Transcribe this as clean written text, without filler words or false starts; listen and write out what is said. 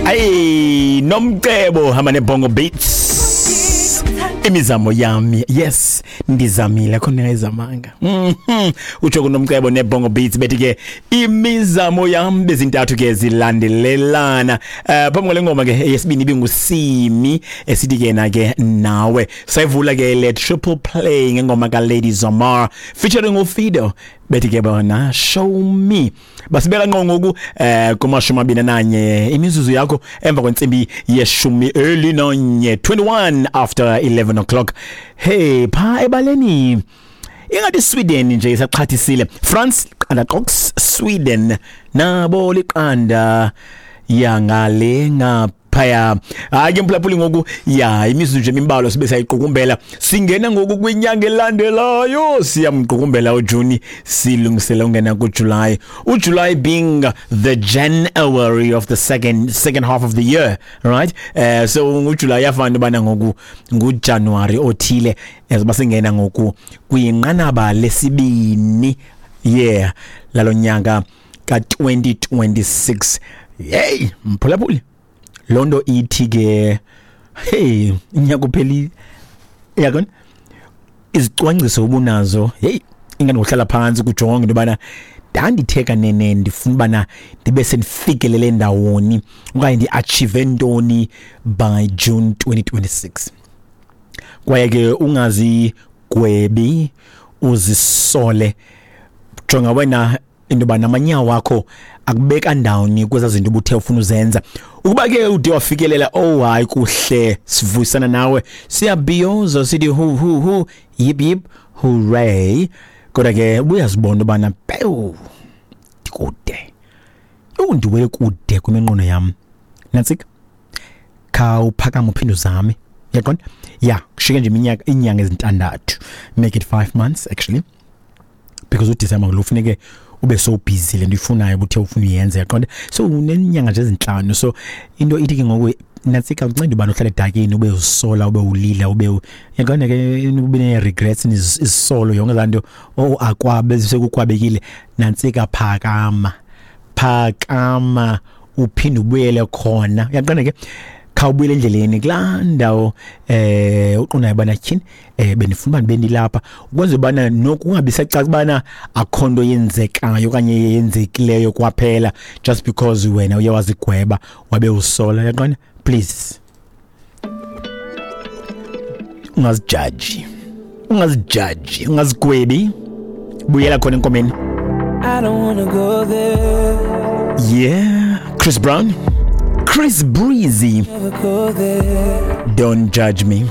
Hey, Nomcebo hamba neBongo Beats. Imizamo yami, yes, ndizamile khona ngayizamanga. Utsho kuNomcebo neBongo Beats bethi ke imizamo yami bezintathu ke zilandelelana. Phambi kwale ngoma ke yesibini ibingusimi esithi ke na ke nawe. Sayivula ke le triple play ngengoma ka Lady Zamar featuring uFido bethi ke bona show me. Basibeka ngqo ngoku kuma-21 imizuzu yakho emva kwentsimbi ye-11, 21 after 11 o'clock. Hey, pha ebaleni ingathi Sweden nje isaxhathisile. France qanda qox, Sweden nabo liqanda yangale ngaphaya. Hayi ke mphulaphuli, ngoku ya imizuzu nje imbalwa sibe sayiqukumbela, singena ngoku kwinyanga elandelayo, siyamqukumbela uJuni, silungisela ungena kuJuly. uJuly being the January of the second half of the year, right? So uJuly yafana ubana ngoku nguJanuary othile, ezoba singena ngoku kwinqanaba lesibini, yeah, lalonyaka ka-2026. Hey mphulaphuli, lonto ithi ke hey, inyaka uphelile, uyakona izicwangciso ubunazo, hey, ingane uhlala phansi kujonga into yobana ndandithe kanene ndifuna ubana ndibe sendifikelele ndawoni okanye ndi-achieve ntoni by June 2026. Kwaye ke ungazigwebi uzisole, jonga wena into yoba namanyawo wakho akubeka ndawoni kwezaa zinto ubuthe ufuna uzenza. Ukuba ke ude wafikelela, oh hayi kuhle, sivuyisana nawe, siyabhiyoza sithi hu hu hu, yip yip hooray. Kodwa ke ubuyazibona ubana pewu ndikude, undiwele kude kwiminqweno yam. Nantsika, khawuphakame uphinde uzame, uyaqonda? Ya, kushiyeke nje iminyaka, iinyanga ezintandathu, make it 5 months actually, because uDisemba lo funeke ube so busy le nto uyifunayo ubuthe ufuna uyenza, uyaqonda? So unenyanga nje ezintlanu. So into ithi ke ngoku nantsika, unceda ubani uhlale edakini ube usola, ube ulila, ube uyaqonda ke, ube ne-regrets izisolo yonke laa nto, oh akwabe sekukwabekile. Nantsika, phakama, phakama uphinde ubuyele khona, uyaqonda ke? Khawubuyele endleleni kulaa ndawo uqondayo ubana tyhini, bendifuna uba ndibe ndilapha, ukwenzela ubana nokungabi sacaca ubana akho nto yenzekayo okanye yenzekileyo kwaphela just because wena uye wazigweba wabe usola, uyaqonda? Please ungazijaji, ungazijaji, ungazigwebi, buyela khona enkomeni. I don't wanna go there. Yeah, Chris Brown, Chris Breezy, Never go there. Don't Judge Me.